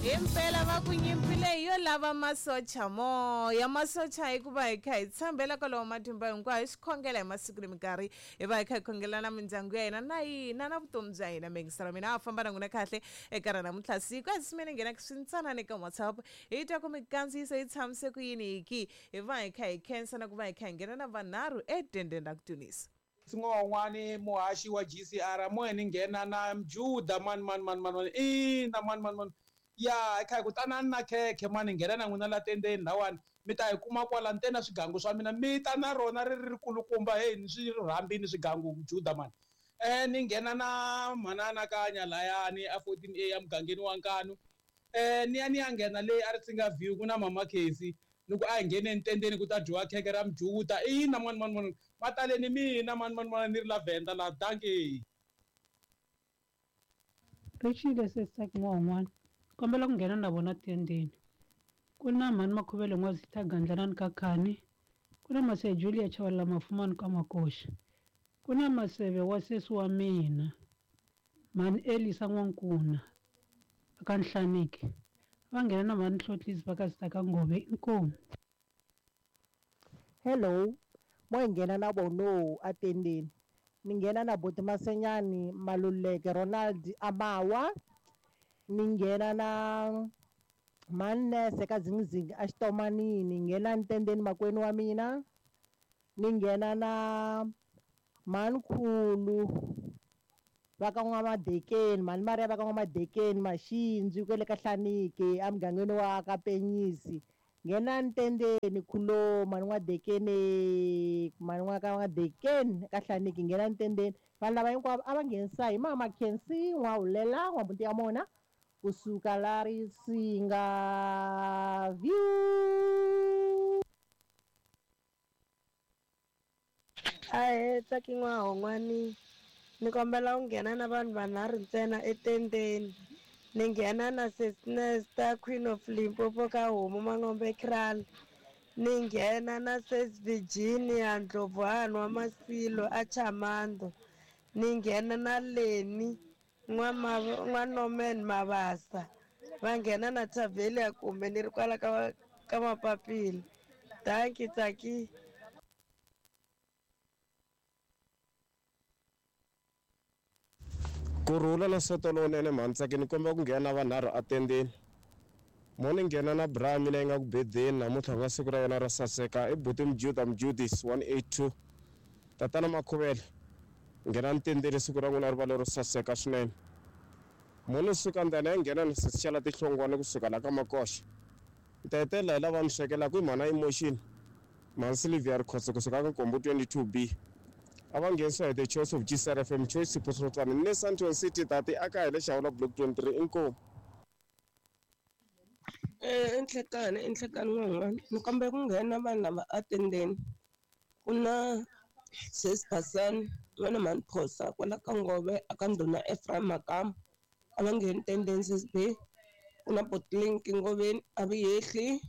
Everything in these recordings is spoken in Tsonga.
Himpela va ku nyimpi leyi yo lava masocha moya masocha hikuva hi kha hi tshembela kwalowo matimba hinkwayo hi swi khongela hi masiku ni minkarhi hi va hi kha hi khongela na mindyangu ya hina na hina na vutomi bya hina miyingiselo mina a famba na n'wina kahle eka ra namuntlha siku a simene nghena swintsanana eka WhatsApp hi twa ku mikandziyiso yi tshamise ku yini hiki hi va hi kha hi khensa na ku va hi kha hi nghena na vanharhu etendeni ra ku tunisa. N'wani muhaxi wa GCR moya ni nghena na Mjuda mani mani mani mani mani ina mani mani mani ya hi kha hi ku tanani na khekhe mani nghena na n'wina la tendeni lawani mi ta yi kuma kwala ni te na swigangu swa mina mi ta na rona ri ri kulukumba heyi ni swi rhambini swigangu Mjuda mani ni nghena na manana Kanya layani a 14A emugangeni wa Nkanu ni ya ni ya nghena leyi a ri Tsinga View ku na mama Casey ni ku a hi ngheneni tendeni ku ta dyiwa khekhe ra Mjuda ina mani mani mani mataleni mina mani mani mani ni ri la Venda la dankie. Richile sesi n'wan'wana kombela ku nghena na vona tendeni ku na mhani Makhuvele N'wazitha Gandlanani ka Khani ku na Mase Julia Chavalala Mafumani ka Makoxa ku na Maseve wa sesi wa mina mhani Elisa N'wankuna aka Nhlaniki va nghena na mhani Hlotlisi va ka Sita ka Ngove inkomu. Hello mo hi nghena na vono atendeni ni nghena na Boti Masenyani Maluleke Ronald Amawa ni nghena na Manese ka Zingizingi a Xitomanini nghena ntendeni makwenu wa mina ni nghena na Mankhulu va ka N'wamadekeni mhani Maria va ka N'wamadekeni Maxindzi kwele ka Hlaniki emugangeni wa ka Penyisi nghena ntendeni khulo mhani N'wadekeni mhani n'wa ka N'wadekeni ka Hlaniki nghena ntendeni vanhu lava hinkwavo a va nghenisa hi mama Khensi N'wahulela N'wabuti ya mona kusuka la Risinga View. Ahee Tsaki N'wahon'wani ni kombela u nghena na vanhu vanharhu ntsena etendeni ni nghena na Sesi Nesta Queen of Limpopo ka Homu Mangombe Kraal ni nghena na Sesi Virginia Ndlovu hahani wa Masilo a Chamando ni nghena na Leni n'wa Norman Mabasa va nghena na Thavelia kumbe ni ri kwala ka ka Mapapila dankie Tsaki. Ku rhula na nsoto lowunene mhani Tsaki ni kombela ku nghena na vanharhu atendeni mo ni nghena na bra mina yi nga ku bedeni namuntlha ku nga siku ra yona ro saseka i buti Mjuda Mjudis 182 tatana Makhuvele nghena ntendeni siku ra n'wina ri va lero saseka swinene mo ni suka ndlela ya nghena ni sesi xala tihlongwane kusuka la ka Makoxa ni ta hetelela hi lava ni swekelaka i mhana Emotion mhani Sylvia Rikhotso kusuka ka Nkombo 22B a va nghenisiwa hi the choice of GCRFM Choice Sipho Srotswana ni le Sandton City tati a ka hi le Xawula Block 23 inkomu. Enhlekani enhlekani n'wan'wana ni kombela ku nghena vanhu lava atendeni ku na sesi Basani n'wana mhani Phosa kwala ka Ngove aka ndhuna Ephraim Makamu a va ngheni tendeni sesi B ku na Botlink Ngoveni a vi hehli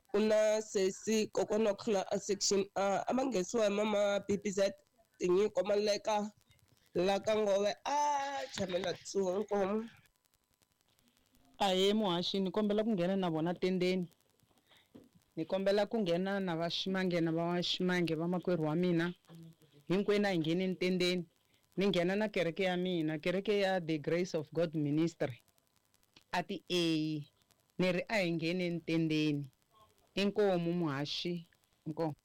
ku na sesi kokwana wa khula a section A a va nghenisiwa hi mama BBZ Tinyiko Maleka la ka Ngove a tshamela tsuwa inkomu. Ahee muhaxi ni kombela ku nghena na vona tendeni ni kombela ku nghena na va Ximange na va Ximange va makwerhu wa mina hinkwenu a hi ngheneni tendeni ni nghena na kereke ya mina kereke ya The Grace of God Ministry a ti A ni ri a hi ngheneni tendeni inkomu muhaxi inkomu.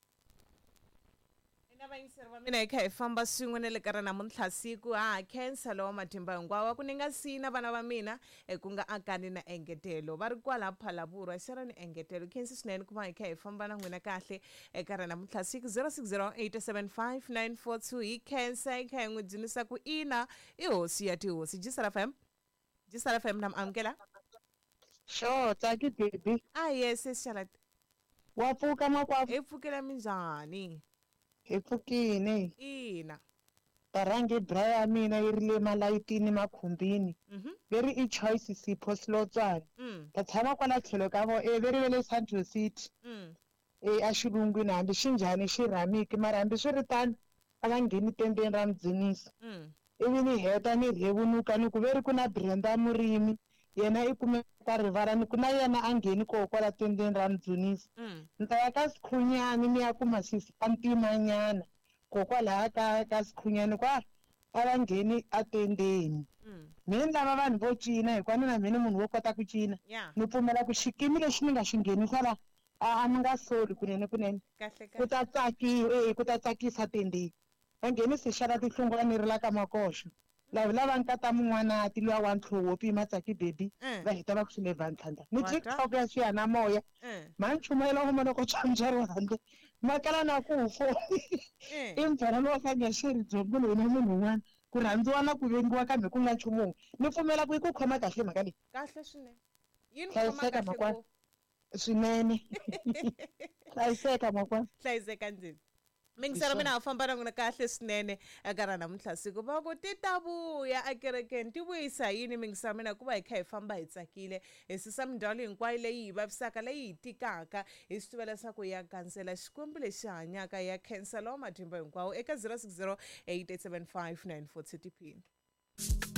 Na vayingiseri va mina hi kha hi famba swin'we na le ka ra namuntlha siku ha khensa lowa matimba hinkwawo ku ni nga siyi na vana va mina ku nga Akani na Engetelo va ri kwala Phalaborwa Sharon Engetelo khensi swinene ku va hi kha hi famba na n'wina kahle eka ra namuntlha siku 06087594 hi khensa hi kha hi n'wi dzunisa ku ina i hosi ya tihosi Gisela FM Gisela FM na mi amukela. Sure, Tsaki baby. Ah yes, sis Charlotte. Wa pfuka makwavo. Hi pfukela minjhani? Hi pfukile. Ina. Varhangi bra ya mina yi ri le malayitini makhumbini. Veri i Choice Sipho Silotswana. Ta tshama kwala tlhelo ka vo e veri ve le Central City. E a xilungwini hambi xi njhani xi rhamiki mara hambi swi ri tano a va ngheni tendeni ra mudzunisi. Ivi ni heta ni rhevunuka ni ku veri ku na Brenda Murimi Yena i kumeka rivala ni ku na yena a ngheni koho kwala tendeni ra Mudzunisi. Ni ta ya ka Sikhunyani ni ya kuma sesi wa ntimanyana kokwalaya ka Sikhunyani kwa a va ngheni atendeni. Mhe ni lava vanhu vo cina hikuva ni na mhe ni munhu wo kota ku cina. Ni pfumela ku xikimi lexi ni nga xi nghenisa la a ni nga soli kunene kunene. Ku ta tsakiwa e ku ta tsakisa tendeni. Va nghenisi xala tihlungwana ni ri la ka Makoxo. Lava lava nkata mun'wanati luya wa ntlhoho wo pima Tsaki baby va heta va ku swi le Vantlhandla. Ni TikTok ya xiyanimoya mhani chumayela ngoma loko tswambyeriwa handle ma kala na ku fo i mbyana lowa ka nga xeri byongo loyi na munhu un'wana ku rhandziwa na ku vengiwa kambe ku nga nchumu wun'we. Ni pfumela ku yi ku khoma kahle mhaka leyi. Kahle swinene. Yi ni khoma Hlayiseka kahle makwani. ngopfu. Swinene. Hlayiseka makwani. Hlayiseka ndzeni. Mingiselo mina a famba na n'wina kahle swinene eka ra namuntlha siku va ku ti ta vuya ekerekeni ti vuyisa yini mingiselo mina ku va hi kha hi famba hi tsakile hi susa mindzhwalo hinkwayo leyi hi vavisaka leyi hi tikaka hi swi tiva leswaku ya gandzela xikwembu lexi hanyaka ya khensa lowa matimba hinkwawo eka 060 875 94 tiphini.